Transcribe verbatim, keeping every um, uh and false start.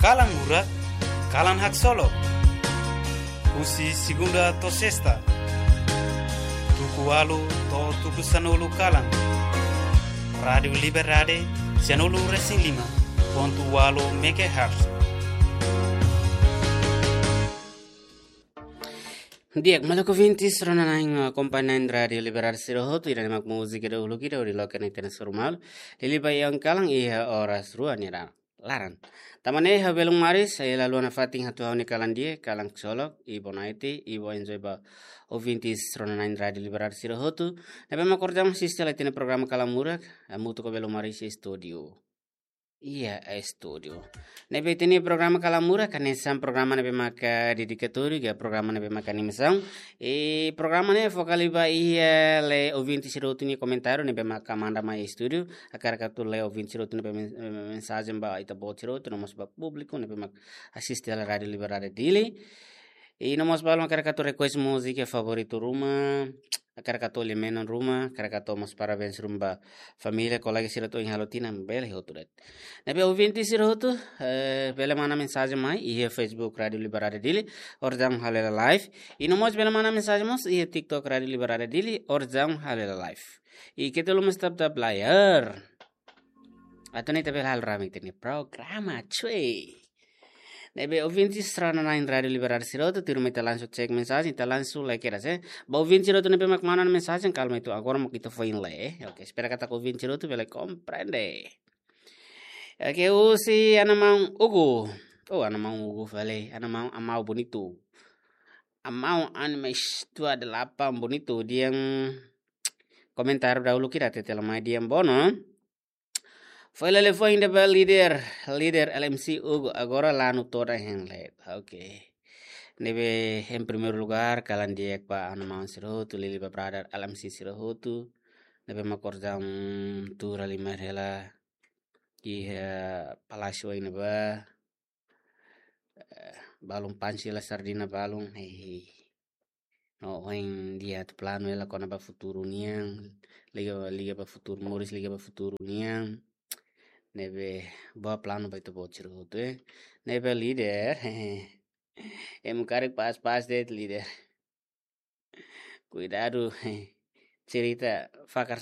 Kalan Murak, kalan haksolok. Husi segunda to'o sesta, tuku ualu to'o tuku sanulu kalan. Rádiu Liberdade, sanulu resin lima pontu ualu megahertz. Di'ak, maluk ouvintes, rona-na'in, eh, akompaña Rádiu Liberdade sira hotu, ida-ne'e mak múzika dahuluk ida hodi loke ona ita-nia soru malu. Liuliu ba iha kalan iha oras rua nia laran. Tanba ne'e ha'u belun Maris, eh, la haluha nafatin hato'o ha'u-nia kalan di'ak, kalan haksolok, i boa noite, i bom enjoy ba ouvintes rona-na'in Rádiu Liberdade sira hotu. Ne'ebé mak orsida mós asiste hela ita-nia programa Kalan Murak, hamutuk ho belun Maris iha estúdiu. Iha estúdiu. Ne'ebé ita-nia programa Kalan Murak, hanesan programa ne'ebé maka dedikatóriu, ka programa ne'ebé maka animasaun. I programa ne'e foka liu ba iha lee ouvinte sira hotu nia komentáriu ne'ebé maka manda mai estúdiu. Hakarak atu lee ouvinte sira hotu nia men-, mensajen ba ita-boot sira hotu, no mós ba públiku ne'ebé mak asiste hela Rádiu Liberdade Dili. I no mós balun hakarak atu request múzika favoritu ruma, hakarak atu lia menon ruma, hakarak atu mós parabéns ruma ba família, kolega sira hotu ohin halo tinan, bele hotu de'it. Ne'ebé ouvinte sira hotu, eh, bele manda mensajen mai iha Facebook Rádiu Liberdade Dili, orsida ha'u halo hela live. I no mós bele manda mensajen mós iha TikTok Rádiu Liberdade Dili, orsida ha'u halo hela live. I keta haluha mós tap-tap layar. Atu nune'e ita bele halo rame ita-nia programa, cuy. Ne'ebé ouvinte sira rona-na'in Rádiu Liberdade sira hotu, tuirmai ita langsung cek mensajen, ita langsung lee kedas, eh. Ba ouvinte sira hotu ne'ebé mak manda mensajen, kalma atu agora mak ita foin lee, eh. Oke, espera katak ouvinte sira hotu bele komprende. Oke, husi Ana Maun Ugu. Oh, Ana Maun Ugu fali, Ana Maun Amau Bonitu. Amau Animes dua delapan Bonitu, dehan komentáriu dahuluk ida, hatete mai dehan: Bono, foin lele foin ida ba líder, líder L M C Ugu, agora lanu todan hein leet. Oke. Ne'ebé, em primeiro lugar, kalan di'ak ba Ana Maun sira hotu, liuliu ba brother L M C sira hotu. Ne'ebé mak orsida tuur halimar hela iha palásiu ne'ebá. Eh, balun pansi la sardina balun, eh. No, ohin dehan atu planu hela kona-ba futuru nian, liga, liga ba futuru, moris liga ba futuru nian. Ne'ebé, boa planu ba ita-boot sira hotu, eh. Ne'ebé líder, ema karik pas-pas de'it líder. Kuidadu, cerita fakar sai